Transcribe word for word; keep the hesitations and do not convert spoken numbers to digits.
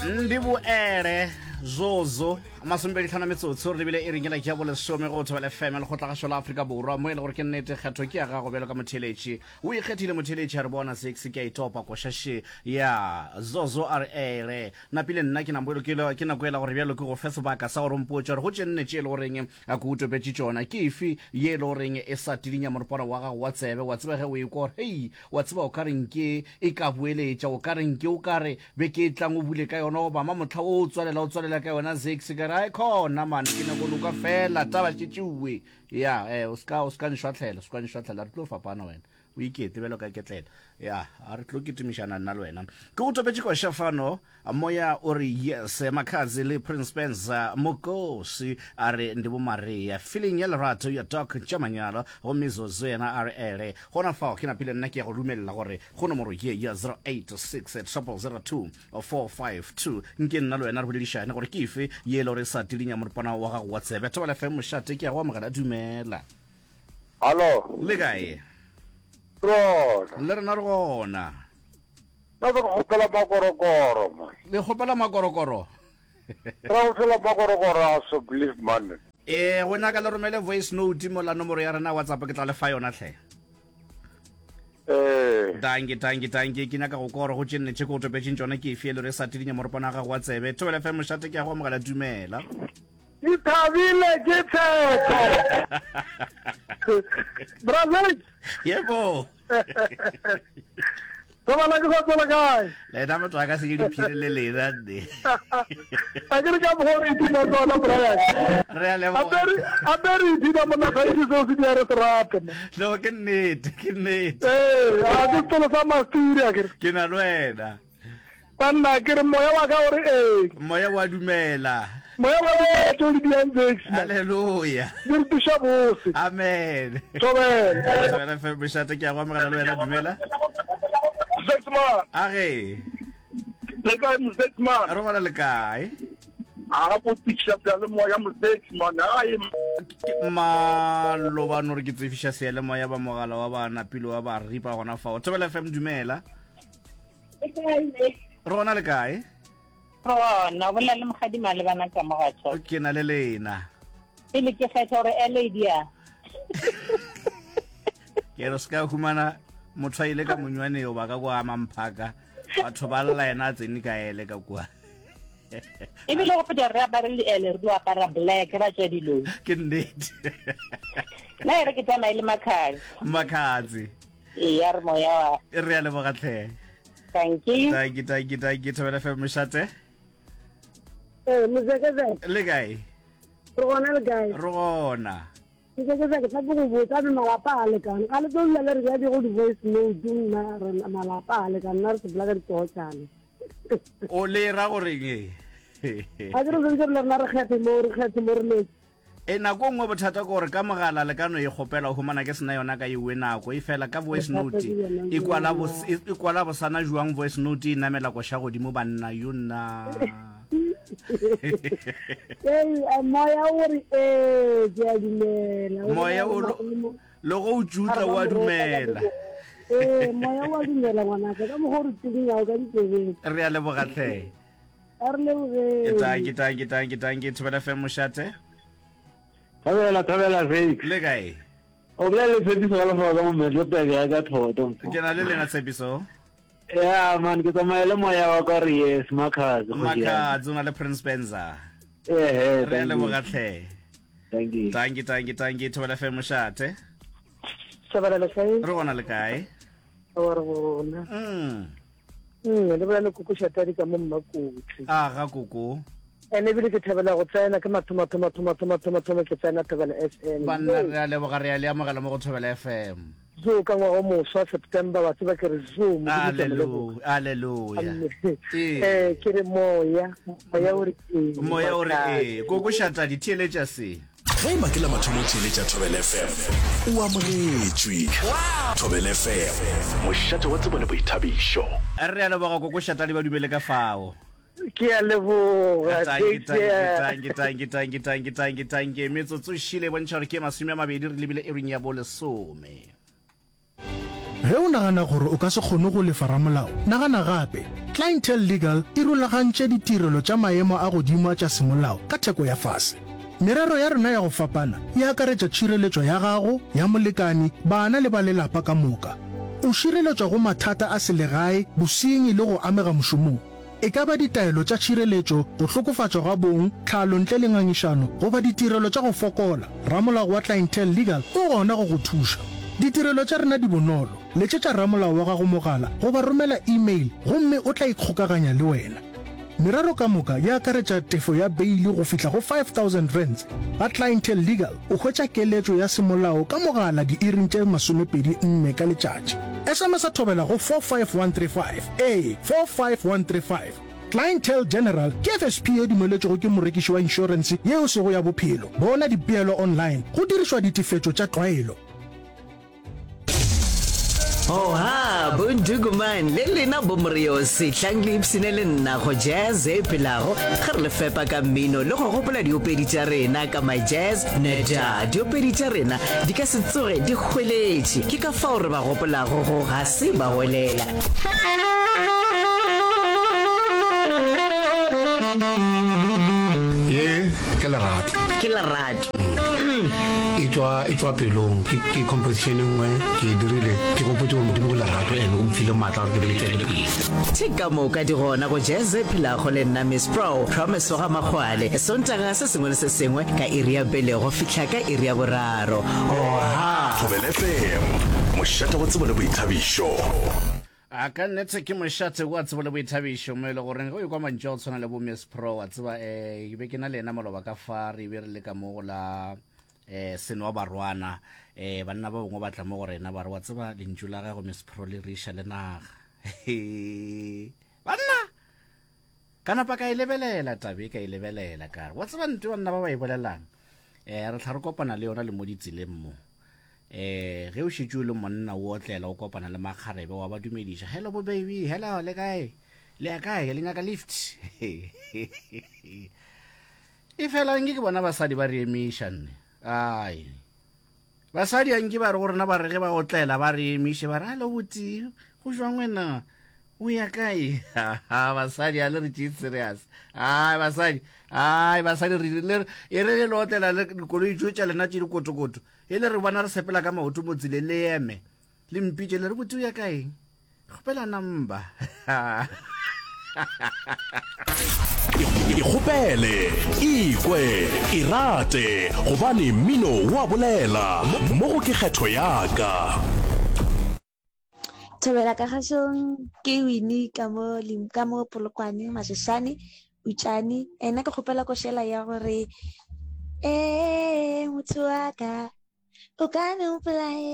Ndi boele zozo masomepedi tlhano metsotso re lebile e ringela ke ya bolesome go Thobela F M, lekgotlagašo la Afrika Borwa, mo e le gore ke nnete kgetho ke ya gago bjalo ka motheeletši. O ikgethile motheeletši a re bona six ke a itopa koša še ya zozo a re ele napile nna ke nambo ke ke nako ela gore bjalo ke go fe sebaka sa gore o mpotše gore go tše nne tše e le goreng a ke o topetše tšona ke efe ye e le goreng e sa tidinya moropana wa gago wa tsebe. Wa tseba ge o ekwa gore hei, wa tseba o ka reng ke e ka boeletša, o ka reng ke o ka re beke e tlang o bule ka yona, goba ma motlha o o tswalela o tswalela ka yona six ka re ai khona man ke nyako loka fela taba šetšeue ya eh o ska o ska nšwatlhela, o ska nšwatlhela, re tlo fapana wena o ikete bjalo ka ketlela ya a re tlo kitimišana nna le wena. Ke go topetše koša fano moya o re yes Makhadzi le Prince Spencer Mokosi a re ndi bo Maria feeling ya lerato ya Doc tša manyalo gomme Zozo yena a re ele gona fao ke napile nna ke ya go dumelela gore go nomoro ye ya zero eight six zero zero zero two four five two nke nna le wena re boledišane gore ke efe ye e le gore e sa tidinya moropana wa gago wa tsebe. Thobela F M, mošate, ke ya go amogela, dumela. Hallo. Le kae? Rona. Le rena re gona. Nna ke kgopela makorokoro man. Le kgopela makorokoro? Ra go fela makorokoro a so believe man. Ee, go nyaka le romele voice note mo la nomoro ya rena WhatsApp, ke tla le fa yona tlhe. Eh. Danke, danke, danke. Ke nyaka go kwa gore go tše nne tše ke go topetšeng tšona ke efe e le gore e sa tidinya moropana wa gago wa tsebe. Thobela F M, mošate, ke ya go amogela, dumela. Ke thabile ke tshepo. Brazil. Yebo. Tobala ke sa tswela kae? Lena motho a ka se ke diphiri le lena nne. A ke re ka mokgwa o re ipina tsona Brian. Re a leboga. Ape re ape re ipina monna ga itse seo se dia re se rate. No ke nnete, ke nnete. Ee, a ke sekolo sa masturi a ke re. Ke na le wena. Banna ke re moya wa ka o re ee. Moya wa dumela. Moya wa dumela tšeo di diang Zex man. Hallelujah. Di re tuša bose. Amen. Thobela. Thobela F M mošate, ke a go amogela le wena, dumela. Zex man. A ge. Le kae Zex man? Re gona, le kae? A go tiša bja le moya mo Zex man. Ai. Malobane gore ke tsefiša seyalemoya ba mogala wa ba napile wa ba ripa gona fao. Thobela F M, dumela. Re gona, le kae? Gona o bolela le mogadi malebana ka mogatšo. Ke na le lena. Pele ke kgetha gore L A D a. Ke re se ka humana motho a ile ka monywaneo ba ka kwa mamphaka batho ba lla yena a tsene ka ele ka kua. Ebile go feta re apare le ele re di apara black ra tswa dilong. Ke nnete. Nna e re ke tsamaye le Makhadzi. Makhadzi. Ee, ya re moya wa. Re a leboga tlhe. Thank you. Tanki, tanki, tanki. Thobela F M, mošate. Ee, mozekezeke. Le kae? Re gona, le kae? Re gona. Mozekezeke, tla ke go botsa be malapa a lekane ga le tlo dula le re bja go di-voice note nna re malapa a lekane nna re sepela ka ditogotšane. O le ra goreng e? A ke re sentse re le rena re kgethe mo re kgethe mo re letse. E nako nngwe bothata ke gore ka mogala le ka no e kgopela o humana ke sena yona ka ewe nako e fela ka voice note e kwala bos- e e kwala bosana jwang voice note e namela koša godimo banna yo nna. Ee, a moya o re ee ke a dumela. O moya o lo- le go o tšutla o a dumela. Ee, moya o a dumela ngwanaka ka mokgwa o re tsidinyago ka ditsebeng. Re a leboga tlhe. A re lebogeng. Tanki, tanki, tanki, tanki. Thobela F M, mošate. Thabela, thabela Zex. Le kae? O bolela le Tshepiso ka lefoka ka mo Middelburg ya ka thoto. Ke na le lena Tshepiso. Ya man, ke tsamaya le moya wa ka re yes Makhadzi. Makhadzi o na le Prince Benza. Eh, re a leboga tlhe. Thank you. Tanki, tanki, tanki. Thobela F M, mošate. Thabela, le kae? Re gona, le kae? Wa re gona. Mm mm le bolela le koko Shatadi ka mo Mmakotsi. A ga koko. Ene ebile ke thabela go tsena ke mathomo thomo thomo thomo thomo thomo ke tsena Thobela F M. Banna re a leboga, re a le amogela mo go Thobela F M. Zo ka ngwaga o moswa September wa tseba ke re zo. Alleluia, alleluia. Eh, ke re moya moya o re ee. Moya o re ee. Koko Shatadi, theeletša se. Ge e ba ke la mathomo o theeletša Thobela F M, o amogetšwe. Thobela F M, mošate wa tsebo le boithabišo. Re a leboga koko Shatadi, ba dumele ka fao. Ke a leboga. Tanki, tanki, tanki, tanki, tanki, tanki, tanki. Metsotso šile e bontšha gore ke masome a mabedi re lebile iring ya bolesome. Ge o nagana gore o ka se kgone go lefa ramolao, nagana gape. Clientele Legal e rulagantše ditirelo tša maemo a godimo tša semolao ka theko ya fase. Merero ya rena ya go fapana e akaretša tšhireletšo ya gago, ya molekani, bana le ba lelapa ka moka. O šireletšwa go mathata a selegae, bosenyi le go amega mošomong. E ka ba ditaelo tša tšhireletšo, go hlokofatšwa ga bong, tlhalo ntle le ngangišano, goba ditirelo tša go fokola, ramolao wa Clientele Legal o gona go go thuša. Ditirelo tša rena di bonolo, letšetša ramolao wa gago mogala goba romela email gomme o tla ikgokaganya le wena. Merero ka moka e akaretša tefo ya beili go fihla go five thousand rands. Ga Clientele Legal o hwetša keletšo ya semolao ka mogala diiring tše masomepedi nne ka letšatši. S M S a thobela go four five one three five, ee, four five one three five. Clientele General ke F S P ye dumeletšwego ke morekiši wa inšorense ye e sego ya bophelo. Bona dipeelo online go dirišwa ditefetšo tša tlwaelo. Oha, bondukuman le lena bomoriosi, tlang le ipshine le nna go Jazz e phelago ge re le fepa ka mmino le go gopola diopedi tša rena ka My Jazz Neda. Diopedi tša rena di ka se tsoge di hweletše, ke ka fao re ba gopolago go ga se ba hwelela. Ye ke lerato. Ke lerato. E tšwa e tšwa pelong. Ke ke composition e nngwe ke e dirile ke gopotse gore Modimo ke lerato and o mfile maatla gore ke be le tšwele pele. Tše ka moka di gona go Jazz e phelago le nna Miss Pro, Promise wa ga Makgwale, Sontaga se sengwe le se sengwe ka iri ya pele go fihla ka iri ya boraro. Oha! Thobela F M, mošate wa tsebo le boithabišo. A ka nnete ke mošate wa tsebo le boithabišo mo e le goreng ge o ekwa mantšu a go tshwana le bo Miss Pro, wa tseba um ke be ke na le yena maloba ka fa re be re le ka mo go la um Senoa Barwana, um banna ba bangwe ba tla mo go rena ba re wa tseba lentšu la gago Miss Pro le re iša le naga. Banna ka napa ka e lebelela tabe ka e lebelela ka re wa tseba nto banna ba ba e bolelang um re tla re kopana le yona le mo ditseleng mo. Eh ge o šetše o le monna o otlela o kopana le makgarebe wa ba dumediša, hello bo baby, hello le kae, le ya kae, le nyaka lift. E fela nke ke bona basadi ba re emiša nne. Ai basadi anke ba re go rena ba re ge ba otlela ba re emiše ba re hello boti, go jwang wena, o ya kae? Basadi a le re tšee serious. Ai basadi, ai basadi re le e re le otlela le dikoloi tšo tša lena tše dikotokoto, e le re bona re sepela ka maoto mo tseleng le eme le mpitše le re botse o ya kae, kgopela number. Ikgopele, ikwe, irate, gobane mmino wa bolela. Mo go ke kgetho ya ka. Thobela ka gašong ke Winnie ka mo Lim- ka mo Polokwane Mashashane Utšane. Ena ke kgopela košela ya gore ee motho wa ka o ka no mpolaela.